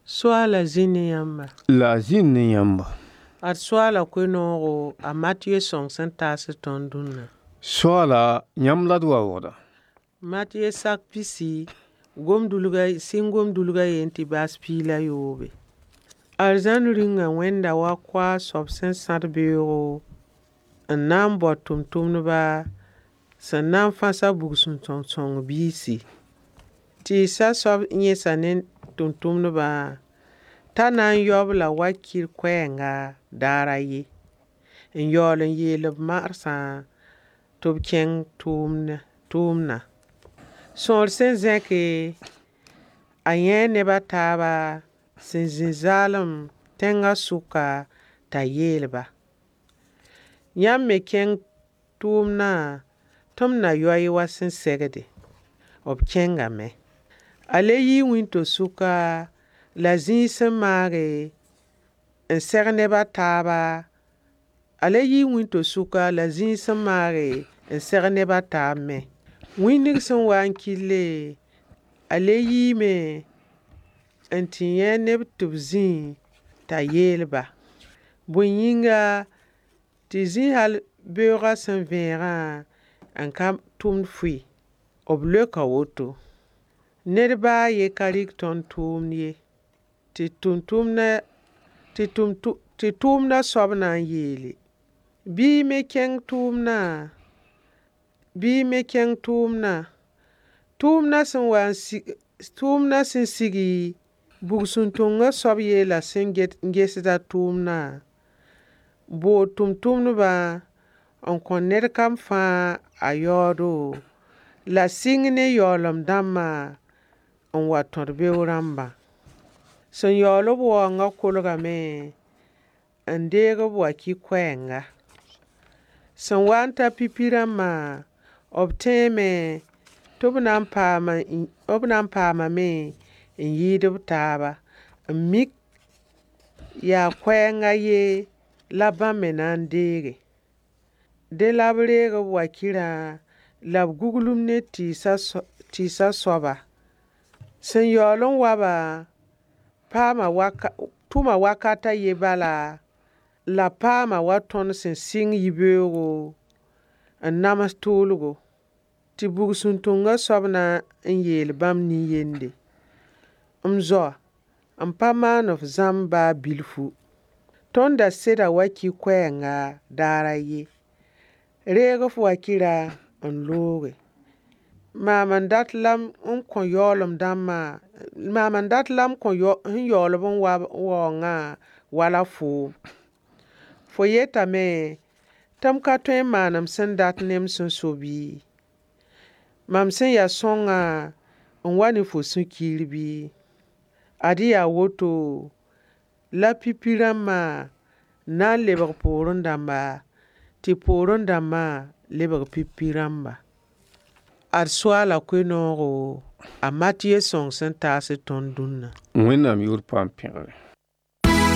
Soaala zĩ ne yãmba. La a zĩnd ne yãmba. Ad soaala koe-noogo a Matɩyɛ sõng sẽn taas tõnd dũnna. Soaala, yãmb la d waoogda. Matɩyɛ sak pisi gom-dulga sɩng gom-dulga yen tɩ baas piig la yoobe. Arzãn rĩnga wẽnda wa koaag soab sẽn sãd beoogo n na n bao tʋmtʋmdba sẽn na n fãs a bugsũn-sõng biisi. Tɩɩsa soab yẽsa ne tʋmtʋmdbã t'a na n yao-b la wakɩr koɛɛnga daar a ye, n yaool n yeel b marsã tɩ b kẽng tʋʋmdã. Sõor sẽn zẽke, a yãee neb a taaba sẽn zĩ zaalem tẽngã sʋka t'a yeel-ba: Yãmb me kẽng tʋʋmdã tɩ m na yao-y wa sẽn segde. B kẽngame. A le yii wĩnto-sʋka la zĩig sẽn maage n seg neb a taaba a le yii wĩnto-sʋka la zĩig sẽn maage n seg neb a taab me. Wĩndg sẽn wa n kɩlle, a le yiime n tɩ yã neb tɩ b zĩ t'a yeel-ba: Bõe yĩnga tɩ zĩ hal beoogã sẽn vẽegã n ka tʋmd fʋɩ? B leoka woto: Ned ba a ye ka rɩk tõnd tʋʋmd ye. Tɩ tʋʋmdã soab na n yeele: Bɩ y me kẽng tʋʋmdã, bɩ y me kẽng tʋʋmdã. Tʋʋmdã sẽn wa n sig tʋʋmdã sẽn sigi, bugsũn-tõngã soab yeela sẽn gesda tʋʋmdã: Bood tʋmtʋmdbã n kõ ned kam fãa a yaoodo la sɩng ne yaoolem dãmbã n wa tõd beoog rãmbã. Sẽn yaool b waoongã kolgame n deeg b wakɩ koɛɛnga. Sẽn wa n ta pipi rãmbã, b tẽeme tɩ b na n paamame n yɩɩd b taaba n mik yaa koɛɛng a ye la bãmb me na n deege. Dẽ la b reeg b wakɩrã la b guglem ne tɩɩsã soaba. Sẽn yaool n wabã paama waka tʋma wakat a ye bala la paama wa tõnd sẽn sɩng yibeoogo n nams tʋʋlgo. Tɩ bugsũn-tõngã soab na n yeel bãmb nin-yende: M zoa, m pa maan f zãmb baa bilfu. Tõnd da seda wakɩ koɛɛnga daar a ye. Reeg f wakɩrã n looge. Maam n dat la n kõ yaoolem dãmbã maam n dat la m kõ sẽn yaool-b n wa waoongã wala foom. Fo yetame tɩ m ka tõe n maan m sẽn dat ne m sẽn so bɩ? Mam sẽn ya sõngã n wa ne fo sũ-kiir bɩ? Ad yaa woto la pipi rãmbã na n lebg poorẽ dãmba, tɩ poorẽ dãmbã lebg pipi rãmba. Ad soaala koe-noogo a Matɩyɛ sõng sẽn taas tõnd dũnna. Wẽnnaam yʋʋr paam pẽgre.